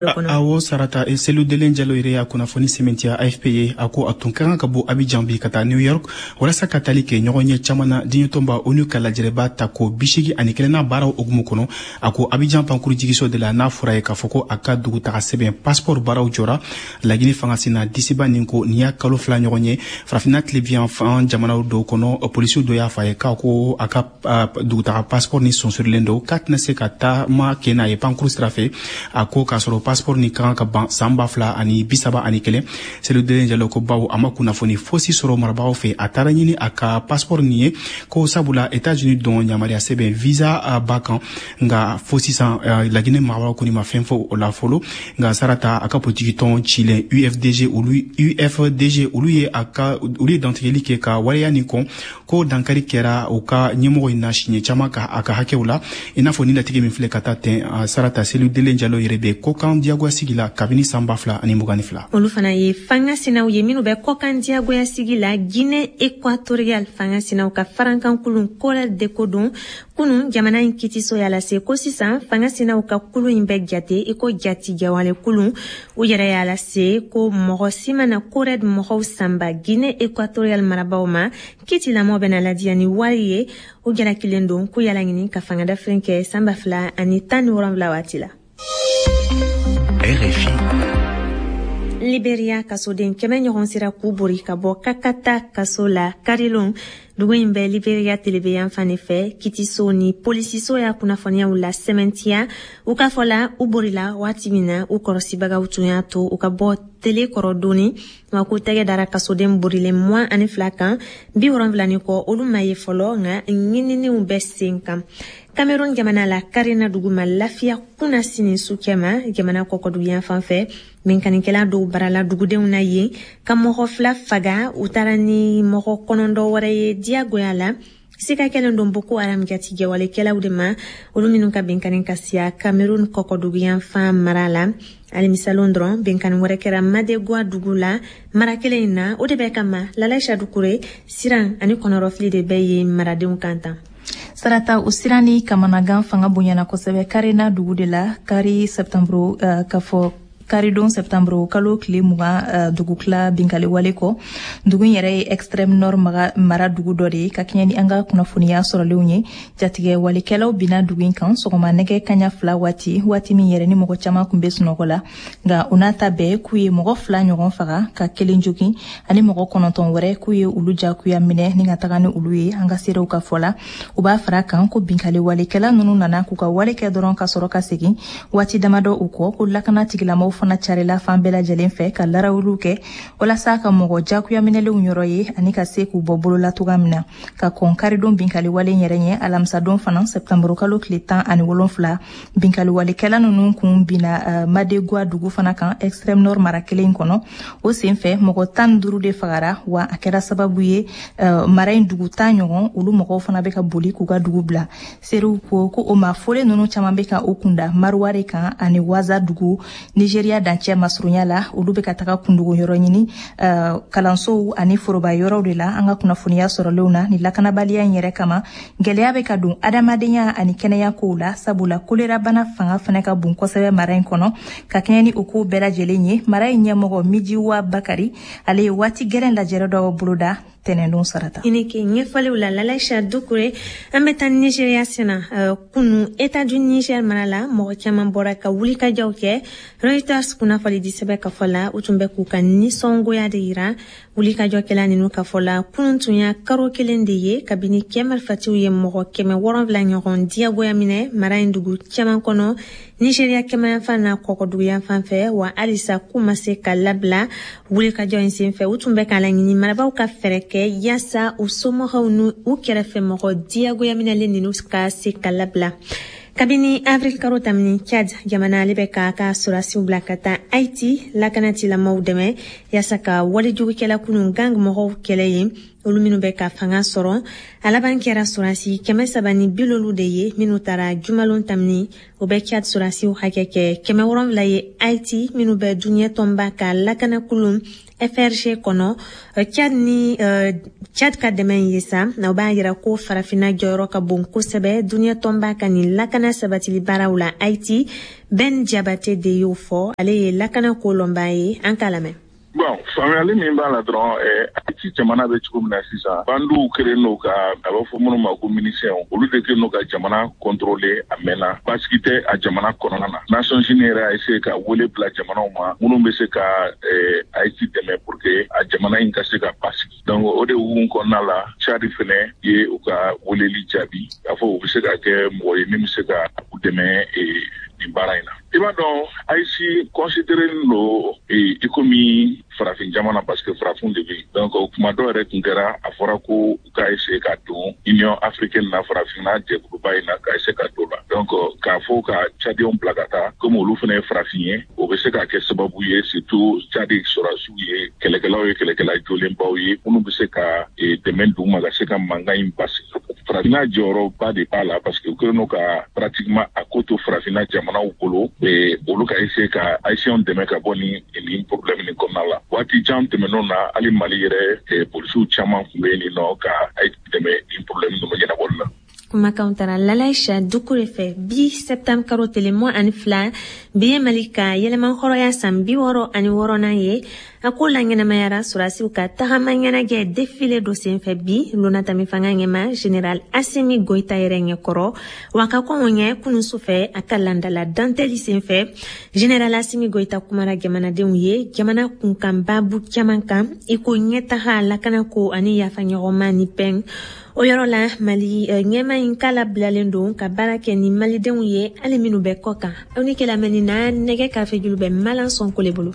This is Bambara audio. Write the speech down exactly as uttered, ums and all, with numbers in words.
Awɔ Sarata, Selu Delen Jalo yɛrɛ y'a kunnafoni sɛmɛntiya A F P ye. A ko a tun ka kan ka bɔ Abidjan bi ka taa New York walasa ka tali kɛ ɲɔgɔn ye caman na diɲɛtɔnba ONU ka lajɛrɛba ta ko bi segi ani kelenna baaraw hukumu kɔnɔ. A ko Abidjan pankuru jigiso de la, n'a fɔra ye k'a fɔ ko a ka dugutaga sɛbɛn passeport baaraw jɔra Lagini fanga senna disiba nin ko nin y'a kalo fila ɲɔgɔn ye. Farafinna tilebin fan jamanaw dɔw kɔnɔ, polisiw dɔ y'a fɔ a ye k'a ko a ka dugutaga passeport ni sonsorilen don, k'a tɛna se ka taama kɛ n'a ye pankuru sira fɛ. A ko k'a sɔrɔ passeport ni ka kan ka ban san ba fila ani bi saba ani kelen. Selu Delen Jalo ko bawo a ma kunnafoni fosi sɔrɔ marabagaw fɛ, a taara ɲini a ka passeport nin ye ko sabula États-Unis dɔn yamaruya sɛbɛn visa b'a kan, nka fo sisan Laginɛ marabagaw kɔni ma fɛn fɔ o la fɔlɔ. Nka Sarata, a ka politiki tɔn cilen U F D G, olu U F D G, olu ye a ka olu ye dantigɛli kɛ ka waleya nin kɔn, ko dankari kɛra u ka ɲɛmɔgɔ in na siɲɛ caman ka a ka hakɛw la, i n'a fɔ ni latigɛ min filɛ ka taa tɛn. Sarata, Selu Delen Jalo yɛrɛ bɛ kɔkan diyagoya sigi la kabini san ba fila ani mugan ni fila. Olu fana ye fanga sinaw ye minnu bɛ kɔkan diyagoya sigi la. Guinée équatoriale fanga sinaw ka farankan kulun CORED de ko don kunu jamana in kitiso y'a lase ko sisan fanga sinaw ka kulu in bɛ jate i ko jatigɛwale kulun. U yɛrɛ y'a lase ko mɔgɔ si mana CORED mɔgɔw sanba Guinée équatoriale marabaw ma, kitilamɔgɔ bɛna ladiya ni wari ye. U jalakilen don k'u y'a laɲini ka fanga dafirin kɛ san ba fila ani tan ni wolonwula waati la. R F I. Liberia kasoden kɛmɛ ɲɔgɔn sera k'u bori ka bɔ Kakata kaso la karilon. Dugu in bɛ Liberia telebeyan fan de fɛ. Kitiso ni polisiso y'a kunnafoniyaw la sɛmɛntiya. U ka fɔ la, u borila waati min na, u kɔrɔsibagaw tun y'a to u ka bɔ tele kɔrɔ doni wa k'u tɛgɛ dara kasoden borilen mugan ani fila kan, bi wolonfila ni kɔ olu ma ye fɔlɔ, nka ɲininiw bɛ sen kan. Cameroun jamana la, Karena dugu ma lafiya kunna sini su cɛma jamana kɔkɔduguyan fan fɛ. Binkannikɛla dɔw barala dugudenw na yen ka mɔgɔ fila faga, u taara ni mɔgɔ kɔnɔntɔn wɛrɛ ye diyagoya la. Sika kɛlen don Boko Haram jatigɛwalekɛlaw de ma, olu minnu ka binkanni ka siya Cameroun kɔkɔduguyan fan mara la. Alamisalon dɔrɔn, binkanni wɛrɛ kɛra Madegwa dugu la mara kelen in na. O de bɛ kama Lalaisa Dukure, siran ani kɔnɔrɔfili de bɛ yen maradenw kan tan. Sarata, o siran ni kamanagan fanga bonyana kosɛbɛ Karena dugu de la kari sɛptanburu uh, ka fɔ karidon sɛptanburu kalo tile mugan uh, dugukila binkali wale kɔ. Dugu in yɛrɛ ye Extrême Nord mara dugu dɔ de ye. Ka kɛɲɛ ni an ka kunnafoniya sɔrɔlenw ye, jatigɛ walikɛlaw bina dugu in kan sɔgɔma nɛgɛ kaɲa fila waati, waati min yɛrɛ ni mɔgɔ caman kun be sunɔgɔ la. Nka o n'a ta bɛɛ, k'u ye mɔgɔ fila ɲɔgɔn faga ka kelen jogin, ani mɔgɔ kɔnɔntɔn wɛrɛ k'u ye olu jagoya minɛ ni ka taga ni olu ye. An ka seerew ka fɔ la, u b'a fara kan ko binkali walikɛla nunu nana k'u ka wale kɛ dɔrɔn ka sɔrɔ ka segin waati damadɔ u kɔ, ko lakana tigilamɔgɔw fana carila fan bɛɛ lajɛlen fɛ ka larawuliw kɛ walasa ka mɔgɔ jagoya minɛlenw yɔrɔ ye ani ka se k'u bɔ bolola toga min na. Ka kɔn karidon binkali wale yɛrɛ ɲɛ, alamisadon fana sɛptanburu kalo tile tan ani wolonfila, binkali walekɛla nunu kun binna uh, Madegwa dugu fana kan Extrême Nord mara kelen kɔnɔ. O sen fɛ, mɔgɔ tan duuru de fagara, wa a kɛra sababu ye uh, mara in dugu tan ɲɔgɔn, olu mɔgɔw fana bɛ ka boli k'u ka dugu bila. Serew ko ko o ma folen nunu caman bɛ ka o kunda Maruware kan ani Waza dugu Nigeria dancɛ masurunya la. Olu bɛ ka taga kundogo yɔrɔ ɲini uh, kalansow ani foroba yɔrɔw de la. An ka kunnafoniya sɔrɔlenw na, ni lakanabaliya in yɛrɛ kama, gwɛlɛya bɛ ka don adamadenya ani kɛnɛya kow la, sabula kolerabana fanga fana ka bon kosɛbɛ mara in kɔnɔ. Ka kɛɲɛ ni o kow bɛɛ lajɛlen ye, mara in ɲɛmɔgɔ Mijiwa Bakari, ale ye waati gɛrɛn lajɛrɛ dɔ boloda tɛnɛndon, Sarata. I ni ke ɲɛfɔliw la, Lalaisa Dukure. An bɛ taa Nigeriya senna. uh, kunu État du Niger mara la, mɔgɔ caman bɔra ka wulikajɔw kɛ. Reuters kunnafoni di sɛbɛ ka fɔ la, u tun bɛ k'u ka nisɔngoya de yira. Wulikajɔkɛla ninu ka fɔ la, kunun tun y'a karo kelen de ye kabini kɛ marifatiw ye mɔgɔ kɛmɛ wɔrɔnfila ɲɔgɔn diyagoya minɛ mara in dugu caman kɔnɔ Nigeriya kɛmayanfan n'a kɔkɔduguyanfan fɛ, wa halisa k'u ma se ka labila. Wulikajɔ in sen fɛ, u tun bɛ k'a laɲini marabaw ka fɛɛrɛ kɛ yaasa u somɔgɔw n'u u kɛrɛfɛ mɔgɔ diyagoya minɛlen ninu ka se ka labila. Kabini avril karo tamini, Chad jamana ale bɛ k'a ka sɔrɔdasiw bila ka taa Haiti lakanatilamaw dɛmɛ yaasa ka walejugukɛla kunu gang mɔgɔw kɛlɛ yen. Olu minnu bɛ ka fanga sɔrɔ, a laban kɛra sɔrɔdasi kɛmɛ saba ni bi loolu de ye minnu taara jumalon tamini. O bɛ Tchad sɔrɔdasiw hakɛ kɛ kɛmɛ wolonwula ye Haïti minnu bɛ diɲɛ tɔnba ka lakanakulu F R G kɔnɔ. Tchad ni Tchad ka dɛmɛ ye sa na, o b'a yira ko farafinna jɔyɔrɔ ka bon kosɛbɛ diɲɛ tɔnba ka nin lakana sabatili baaraw la Haïti. Ben Jabate de y'o fɔ, ale ye lakana ko lɔnbaa ye. An k'a lamɛn. Bon, faamuyali min b'a la dɔrɔn, Haïti jamana bɛ cogo min na sisan, bandiw kɛlen don ka, a b'a fɔ minnu ma ko miliciens, olu de kɛlen don ka jamana contrôler a mɛnna. Basigi tɛ a jamana kɔnɔna na. Nations Unies yɛrɛ y'a essayer ka wele bila jamanaw ma minnu bɛ se ka Haïti dɛmɛ pour que a jamana in ka se ka basigi. Donc o de hukumu kɔnɔna la, Tchad fɛnɛ ye u ka weleli jaabi k'a fɔ u bɛ se ka kɛ mɔgɔ ye min bɛ se ka u dɛmɛ nin baara in na. I b'a dɔn, Haïti considéré don i komi farafin jamana, parce que farafin de bɛ yen. Donc o kuma dɔw yɛrɛ tun kɛra, a fɔra ko u ka essayer ka don Union africaine na, farafinna jɛkuluba in na, ka essayer ka don la. Donc k'a fɔ ka Tchadiens bila ka taa, komi olu fana ye farafin ye, o bɛ se ka kɛ sababu ye, surtout Tchad sɔrɔdasiw ye kɛlɛkɛlaw ye, kɛlɛkɛla jolenbaw ye minnu bɛ se ka dɛmɛ d'u ma ka se ka mankan in basigi. Farafinna jɔyɔrɔba de b'a la, parce que u kɛlen don ka pratiquement a ko to farafinna jamanaw bolo, olu ka essayer ka Haïtiens dɛmɛ ka bɔ nin nin problème nin kɔnɔna la. Waati jan tɛmɛnenw na, hali Mali yɛrɛ polisiw caman tun bɛ yen nɔ ka Haïti dɛmɛ nin problème ninnu ɲɛnabɔli la. Kumakanw tara Lalaïcha Dukure fɛ. Bi septembre karo tele mugan ani fila, bi ye Mali ka yɛlɛma hɔrɔnya san bi wɔɔrɔ ani wɔɔrɔnan ye. A ko la ɲɛnamayara sɔrɔdasiw ka tagama ɲɛnajɛ défilé dɔ senfɛ bi lonatami fanga ɲɛma général Assimi Goïta yɛrɛ ɲɛkɔrɔ. Wa ka kɔn o ɲɛ, kunun sufɛ, a ka landala dantɛli senfɛ, général Assimi Goïta kumara jamanadenw ye jamana kunkan babu caman kan, i ko ɲɛtaga, lakanako ani yafaɲɔgɔnma ni pɛn. O yɔrɔ la, Mali ɲɛma in k'a labilalen don ka baara kɛ ni malidenw ye, hali minnu bɛ kɔ kan. Aw ni kɛ lamɛnni na, nɛgɛ karafe julu bɛ Malan Sɔnko le bolo.